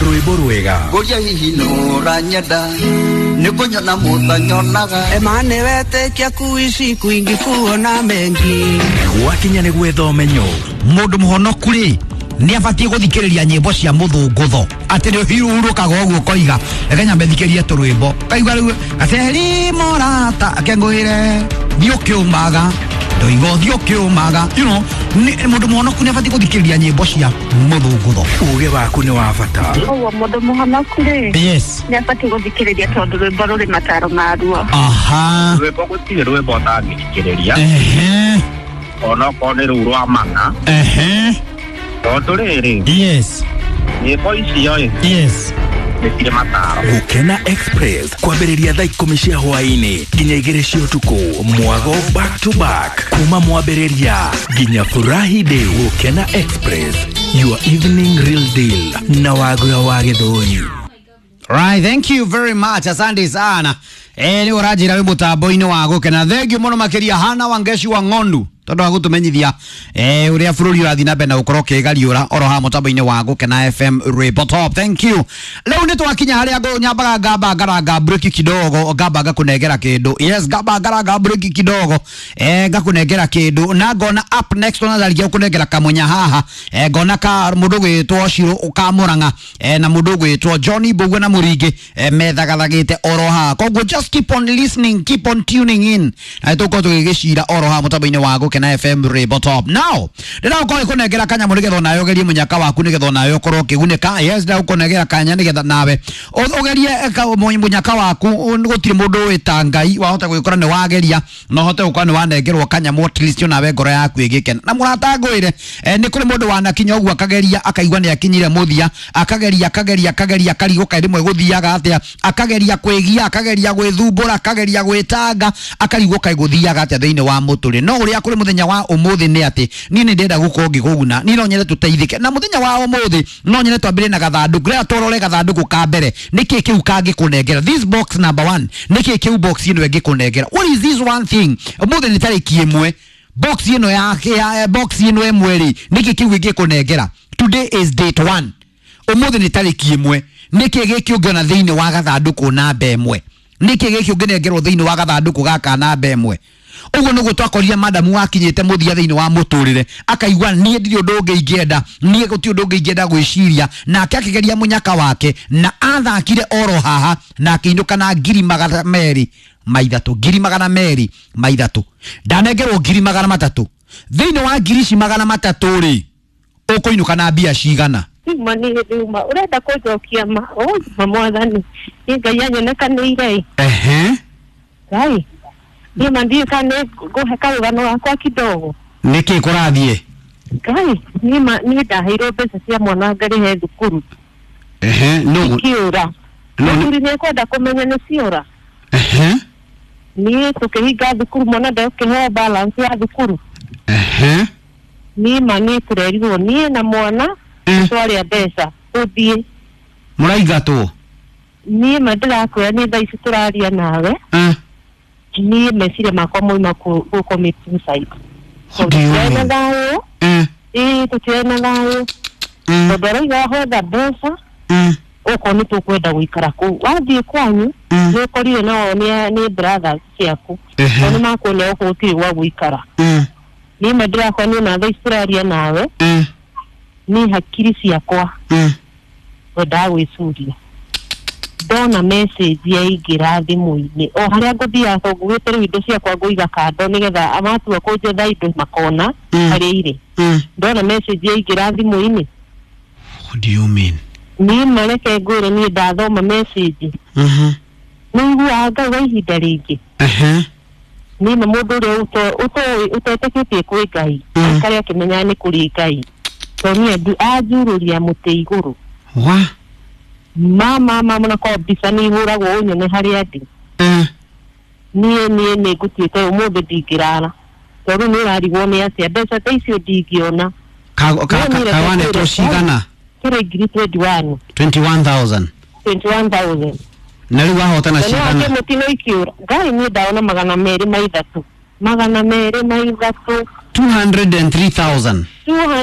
Rwĩmbo rwega. Ngũria hihi nũranyenda nĩ kũnyona mũtanyonaga. Emane wetĩkia kuishi kwingi kuona mengi. Gwakinya nĩ gwetha ũmenyo. Mũndũ mũhonoku rĩ nĩ abatiĩ gũthikĩrĩria nyĩmbo cia mũthũngũtho atĩ nĩ ũhurũkaga ũguo ũkoiga reke nyambe thikĩrie tũrwĩmbo kaigua rĩu gaceri mũrata akengũĩre thiĩ ũkĩũmaga ndoiga ũthiĩ ũkĩũmaga, you know, mũndũ mũhonoku nĩ abatiĩ gũthikĩrĩria nyĩmbo cia mũthũngũtho. Uge waku nĩ wa bata. Ũguo mũndũ mũhonoku rĩ, yes, nĩ abatiĩ gũthikĩrĩria tondũ rwĩmbo rũrĩ mataro maruo. Aha. Rwĩmbo gũtirĩ rwĩmbo ũtangĩthikĩrĩria. Ehe. Onokorwo nĩ rũu rwa mana. Ehe. Tondũ rĩrĩ, yes, nyĩmbo icio ĩ, yes, nĩ cirĩ mataro. Gũkena Express kwambĩrĩria thaa 10 cia hwaĩ-inĩ nginya 2 cia ũtukũ. Mwago back to back kuma mwambĩrĩria nginya Furahi Day. Gũkena Express, your evening real deal na Wagura wa Gĩthũri. Right, thank you very much. Asante sana. Nĩ ũranjĩra wĩ mũtambo-inĩ wa gũkena. Thank you mũno makĩria Hana Wangeshi wa Ng'ondu tondũ wa gũtũmenyithia ũrĩa bũrũri ũrathiĩ na mbere na gũkorwo ũkĩgariũra oro haha mũtambo-inĩ wa Gũkena FM Rwĩmbo Top. Thank you. Rĩu nĩ twakinya harĩa nyambaga ngamba ngaranga breki kidogo, ngamba ngakũnengera kĩndũ. Yes, ngamba ngaranga breki kidogo. Ngakũnengera kĩndũ na ngona up next ona ndarigia gũkũnengera kamũnya haha. Ngona ka mũndũ gwĩtwo Shiro Kamũrang'a na mũndũ gwĩtwo Johnny Mbugua na Mũringĩ methagathagĩte oro haha. Koguo just keep on listening, keep on tuning in. Na tũkorwo tũgĩgĩcira oro haha mũtambo-inĩ wa Gũkena FM Rwĩmbo Top. Now, ndĩragũkorwo ngĩkũnengera kanyamũ nĩgetha onawe ũgerie mũnyaka waku nĩgetha onawe ũkorwo ũkĩgunĩka. Yes, ndĩragũkũnengera kanya nĩgetha nawe ũgerie mũnyaka waku. Gũtirĩ mũndũ ũĩ ta Ngai, wahota gwĩkora nĩ wageria na ũhote gũkorwo nĩ wanengerwo kanyamũ at least onawe ngoro yaku ĩgĩkena. Na mũrata ngwĩre, nĩ kũrĩ mũndũ wanakinya ũguo akageria akaigua nĩ akinyire mũthia, akageria akageria akageria akarigwo kaĩ rĩmwe gũthiaga atĩa, akageria kwĩgia, akageria gwĩthumbũra, akageria gwĩtanga, akarigwo kaĩ gũthiaga atĩa thĩinĩ wa mũtũrĩre. No ũrĩa kũrĩ mũthenya wa ũmũthĩ nĩ atĩ niĩ nĩ ndĩrenda gũkorwo ngĩkũguna, niĩ no nyende tũteithĩke. Na mũthenya wa ũmũthĩ no nyende twambĩrĩrie na gathandũkũ, rĩrĩa tũrore gathandũkũ ka mbere nĩkĩ kĩu kangĩkũnengera. This box number 1, nĩkĩ kĩu box ĩno ĩngĩkũnengera? What is this one thing? Ũmũthĩ nĩ tarĩki 1, box ĩno ya box ĩno ĩmwe rĩ, nĩkĩ kĩu ĩngĩkũnengera? Today is date 1, ũmũthĩ nĩ tarĩki 1, nĩkĩ gĩkĩ ũngĩona thĩinĩ wa gathandũkũ namba 1? Nĩkĩ gĩkĩ ũngĩnengerwo thĩinĩ wa gathandũkũ gaka namba 1? Ũguo nĩguo twakorire madamu wakinyĩte mũthia thĩinĩ wa mũtũrĩre, akaigua niĩ ndirĩ ũndũ ũngĩ ingĩenda, niĩ gũtirĩ ũndũ ũngĩ ingĩenda gwĩciria, nake akĩgeria mũnyaka wake na athakire oro haha na akĩinũka na 223,000, 223,000. Ndanengerwo 300,000. Thĩinĩ wa ngiri ici 300 rĩ, ũkũinũka na mbia cigana? Uma nĩ thuma ũrenda kũnjokia ma ma mwathani nĩ Ngai anyonekanĩire. Ehe. Ngai niĩ ma ndiũĩ kana nĩ ngũhe karũgano gakwa kidogo. Nĩkĩ kũrathiĩ? Ngai niĩ ma niĩ ndaheirwo mbeca cia mwana ngarĩhe thukuru. Ehe. No Ikiũra. Mũthuri nĩ ekwenda kũmenya nĩ ciora. Ehe. Niĩ tũkĩhinga thukuru mwana ndekũheo balance ya thukuru. Ehe. Niĩ ma niĩ tũrerirwo niĩ na mwana twarĩa mbeca ũthiĩ. Mũraingatwo? Niĩ ma ndĩrakwĩra nĩ thaa ici tũraria nawe. Niĩ meciria makwa moima gũ commit suicide. Tũtirĩ na thayũ. Ĩĩ tũtirĩ na thayũ. Tondũ arauga wetha mbeca okorwo nĩ tũkwenda gũikara kũu. Wathiĩ kwanyu nĩ ũkorire nao nĩ brothers ciaku. Tondũ nĩ makuonia gũkũ gũtirĩ gwa gũikara. Niĩ ma ndĩrakora niĩ na thaa ici tũraria nawe niĩ hakiri ciakwa ngwendaga gwĩcuria. Ndona message yaingĩra thimũ-inĩ o harĩa ngũthiaga tondũ ngugĩte rĩu indo ciakwa ngũiga kando nĩgetha matua kũnjetha indo makona harĩa irĩ. Ndona message yaingĩra thimũ-inĩ. What do you mean? Niĩ mareke ngwĩre niĩ ndathoma message. Nĩ iguaga Ngai wa ihinda rĩngĩ. Niĩ ma mũndũ ũrĩa ũtetĩkĩtie kwĩ Ngai aikare akĩmenyaga nĩ kũrĩ Ngai. Tondũ niĩ anjurũria mũtĩ igũrũ. Wa? Mama mama na kwa mbica nĩ ihũragwo ũnyone harĩa ndĩ. Niĩ niĩ nĩ ngũtuĩte ũmũthĩ ndingĩrara tondũ nĩ ũrarigwo nĩ atĩa mbeca ta icio ndingĩona. Kawanetwo cigana? Kĩrĩ ngiri 21. 21,000. 21,000. Na rĩu wahotana cigana? Mũtino ikiũra Ngai niĩ ndaona 203. 203. 203,000.